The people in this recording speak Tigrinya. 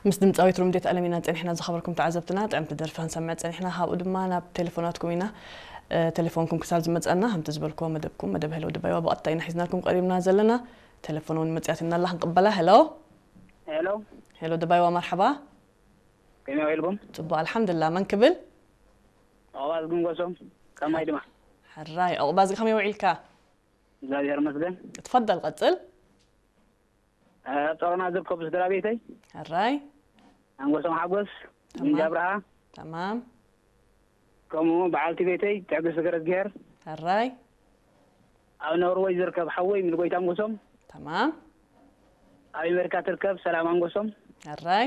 ምስ ድምፃዊት ሩምዴት ኣለሚና ፀኒሕና ዝኸበርኩም ተዓዘብትና ጥዕምቲ ደርፊ ክንሰምዕ ፀኒሕና። ካብኡ ድማ ናብ ቴሌፎናትኩም ኢና። ቴሌፎንኩም ክሳብ ዝመፀና ከምቲ ዝበልክዎ መደብኩም መደብ ሄሎ ድባይዋ ብቐጥታ ኢና ሒዝናልኩም ቀሪብና ዘለና። ቴሌፎን እውን መፅያትና ኣላ ክንቅበላ። ሄሎ። ሄሎ። ሄሎ ድባይዋ፣ መርሓባ። ከመይ ውዒልኩም? ፅቡቅ ኣልሓምድላ። መን ክብል? ዑቕባዝጊ ኣንጎሶም። ከማይ ድማ። ሕራይ ዑቕባዝጊ፣ ከመይ ውዒልካ? እግዚኣብሔር ይመስገን። ትፈደል ቀፅል። ኣብ ጸሮና ዝርከቡ ስድራ ቤተይ። ሕራይ። ኣንጎሶም ሓጎስ። ተማም። እንጃ ኣብርሃ። ተማም። ከምኡ በዓልቲ ቤተይ ትዕግስቲ ገረዝግሄር። ሕራይ። ኣብ ኖርወይ ዝርከብ ሓወይ ምልጎይታ ኣንጎሶም። ተማም። ኣብ ኣሜሪካ ትርከብ ሰላም ኣንጎሶም። ሕራይ።